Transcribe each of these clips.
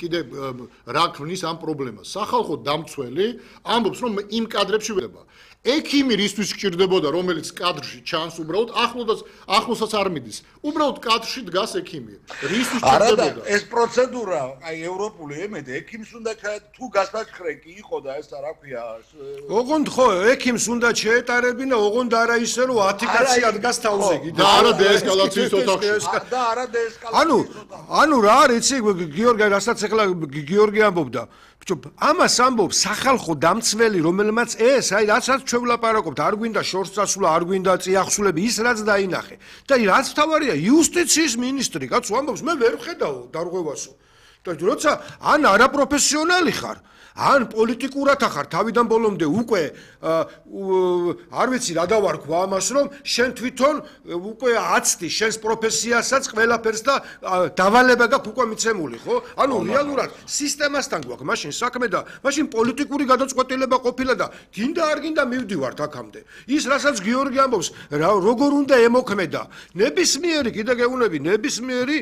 კიდე რა ქმნის ამ პრობლემას. სახალხო დამცველი ამბობს, რომ იმ კადრებში ვედება. ექიმი რისთვის გჭირდებოდა, რომელიც კადრში ჩანს უბრალოდ ახლოსაც არ მიდის. უბრალოდ კადრში დგას ექიმი. რისთვის გჭირდებოდა? ეს პროცედურა, აი ევროპული ემედ ექიმს უნდა თუ გასაჩხრე კი იყო და ეს რა ქვია. ოღონდ ხო, ექიმს უნდა შეეტარებინა, ოღონდ არა ისე რომ 10 კაცი ადგას თავზე კიდე. და არა დეესკალაციის ოთახში. და არა დეესკალაციის ოთახში. ანუ რა არის, იცი გიორგი, რასაც ახლა გიორგი ამბობდა. ამას ამბობს სახალხო დამცველი, რომელმაც ეს, აი რასაც ჩვენ ვლაპარაკობთ, არ გვინდა შორს წასვლა, არ გვინდა წიაღსულები, ის რაც დაინახე. და რაც თავარია, იუსტიციის მინისტრი, კაცო ამბობს, მე ვერ ვხედავ დარღვევასო. და როცა ან არაპროფესიონალი ხარ, ან პოლიტიკურად ახარ თავიდან ბოლომდე უკვე არ ვიცი რა დავარქვა ამას, რომ შენ თვითონ უკვე აცდი შენს პროფესიასაც ყველაფერს და დავალება გაქვს უკვე მიცემული, ხო? ანუ რეალურად სისტემასთან გვაქვს მაშინ საქმე და მაშინ პოლიტიკური გადაწყვეტილება ყოფილა და გინდა არ გინდა მივდივართ აქამდე. ის რასაც გიორგი ამბობს, როგორ უნდა ემოქმედა ნებისმიერი, კიდე გეუბნები, ნებისმიერი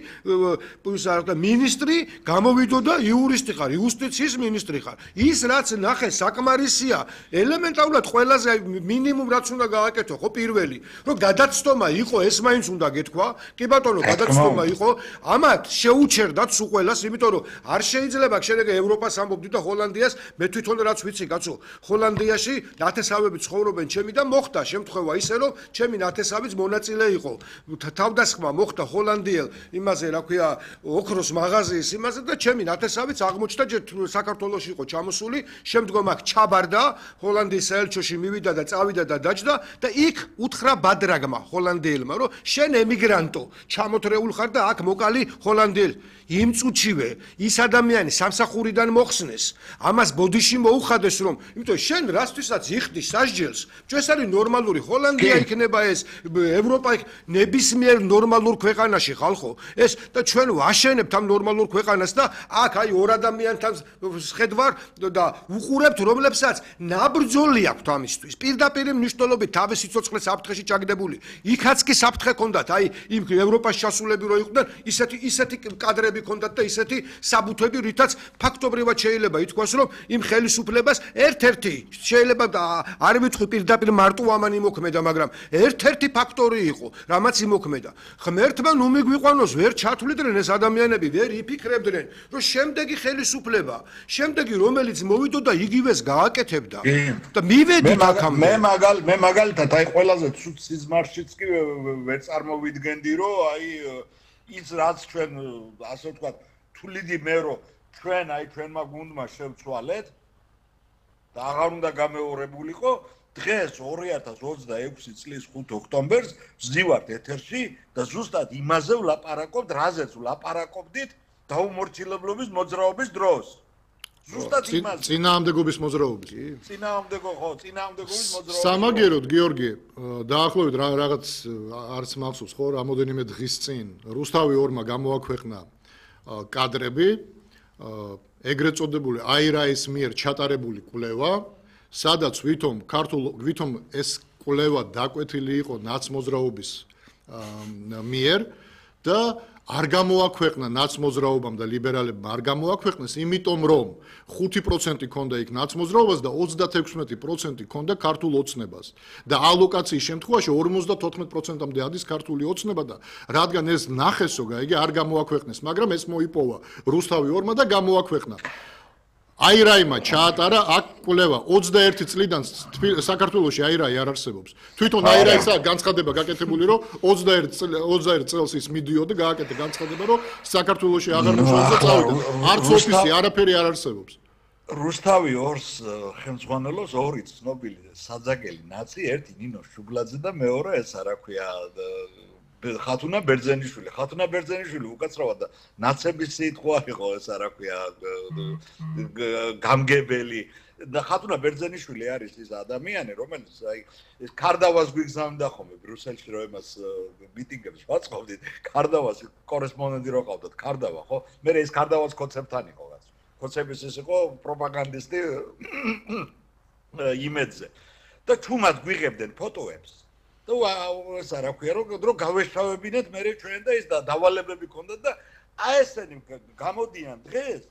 მინისტრი გამოვიდოდა იურისტი ხარ, იუსტიციის მინისტრი ხარ. ის რაც ნახე საკმარისია, ელემენტარულად ყველაზე მინიმუმ რაც უნდა გააკეთო, ხო პირველი, რომ გადაცდომა იყო, ეს მაინც უნდა გეთქვა, კი ბატონო, გადაცდომა იყო, ამათ შეუჩერდათ სულ ყველას, იმიტომ რომ არ შეიძლება შედეგე ევროპას ამბობდი და ჰოლანდიას, მე თვითონ რაც ვიცი, კაცო, ჰოლანდიაში ნათესავები ცხოვრობენ ჩემი და მოხდა შემთხვევა ისე, რომ ჩემი ნათესავიც მონაწილე იყო. თავდასხმა მოხდა ჰოლანდიელ იმაზე, რა ქვია, ოქროს მაღაზიის იმაზე და ჩემი ნათესავიც აღმოჩნდა საქართველოში იყო ჩამოსული, შემდგომ აქ ჩაბარდა, ჰოლანდიის საელჩოში მივიდა და წავიდა და დაჯდა და იქ უთხრა ბადრაგმა ჰოლანდიელმა, რომ შენ ემიგრანტო, ჩამოთრეულ ხარ და აქ მოკალი ჰოლანდიელი. იმ წუთშივე ის ადამიანი სამსახურიდან მოხსნეს, ამას ბოდიში მოუხადეს, რომ იმიტომ შენ რასთვისაც იხდი სასჯელს, ეს არის ნორმალური ჰოლანდია იქნება ეს, ევროპა ნებისმიერ ნორმალურ ქვეყანაში ხალხო, ეს და ჩვენ ვაშენებთ ამ ნორმალურ ქვეყანას და აქ აი ორ ადამიანთან შედვარ და უყურებთ, რომლებსაც ნაბრძოლი აქვთ ამისთვის. პირდაპირ მნიშვნელობით თავის სიცოცხლე საფრთხეში ჩაგდებული. იქაც კი საფრთხე ჰქონდათ, აი იმ ევროპაში ჩასულები რო იყვნენ, ისეთი კადრები ჰქონდათ და ისეთი საბუთები, რითაც ფაქტობრივად შეიძლება ითქვას, რომ იმ ხელისუფლებას ერთ-ერთი შეიძლება არ ვიტყვი პირდაპირ მარტო ამან იმოქმედა, მაგრამ ერთ-ერთი ფაქტორი იყო, რამაც იმოქმედა. ღმერთმა ნუ მიგვიყვანოს, ვერ ჩათვლიდნენ ეს ადამიანები, ვერ იფიქრებდნენ, რომ შემდეგი ხელისუფლება, შემდეგი რომელიც მოვიდოდა იგივეს გააკეთებდა და მივედით აქამდე. მე მაგალითად აი ყველაზე ცუდ სიზმარშიც კი ვერ წარმოვიდგენდი, რომ აი ის რაც ჩვენ ასე ვთქვათ, თuliდი მე რომ ჩვენ აი ჩვენმა გუნდმა შევცვალეთ და აღარ უნდა გამეორებულიყო, დღეს 2026 წლის 5 ოქტომბერს ვზივართ ეთერში და ზუსტად იმაზე ვლაპარაკობთ, რაზეც ვლაპარაკობდით დაუმორჩილებლობის მოძრაობის დროს. ზუსტად იმაზე. წინააღმდეგობის მოძრაობის. წინააღმდეგობის მოძრაობის. სამაგეროდ გიორგი, დაახლოებით რაღაც არც მახსოვს ხო, რამოდენიმე დღის წინ რუსთავი 2-მა გამოაქვეყნა კადრები, ეგრეთ წოდებული აირაის მიერ ჩატარებული კვლევა, სადაც ვითომ ეს კვლევა დაკვეთილი იყო ნაცმოძრაობის მიერ და არ გამოაქვეყნა ნაცმოძრაობამ და ლიბერალებმა არ გამოაქვეყნეს, იმიტომ რომ 5% ქონდა იქ ნაცმოძრაობას და 36% ქონდა ქართულ ოცნებას. და ალოკაციის შემთხვევაში 54%-მდე ადის ქართული ოცნება და რადგან ეს ნახესო, გაიგე, არ გამოაქვეყნეს, მაგრამ ეს მოიპოვა რუსთავი 2-მა და გამოაქვეყნა. აირაიმა ჩაატარა აქ კვლევა 21 წლიდან საქართველოში აირაი არ არსებობს. თვითონ აირაისა განცხადება გაკეთებული, რომ 21 წელს ის მიდიოდა გააკეთა განცხადება, რომ საქართველოში აღარ მუშაობს და წავიდა. არც ოფისი არაფერი არ არსებობს. რუსთავი 2-ს ხელმძღვანელობს 2 ცნობილი საძაგელი ნაცი, ერთი ნინო შუბლაძე და მეორე ესა რა ქვია ხათუნა ბერძენიშვილი უკაცრავად და ნაცების სიტყვა იყო ესა რა ქვია გამგებელი და ხათუნა ბერძენიშვილი არის ის ადამიანი, რომელიც აი ეს კარდავას გვიგზავნდა ხოლმე ბრიუსელში რომ εμას მიტინგებს ვაწყობდით, კარდავას კორესპონდენტი რო ყავდათ, კარდავა ხო? მე ეს კარდავას კონცეპტთან იყო რაც. კონცეპტის ის იყო პროპაგანდისტი იმედზე. და თუმად გვიღებდნენ ფოტოებს და ესა რა ქვია, რომ გავეშავებინეთ მე ჩვენ და ის დავალებები ქონდათ და აი ესენი გამოდიან დღეს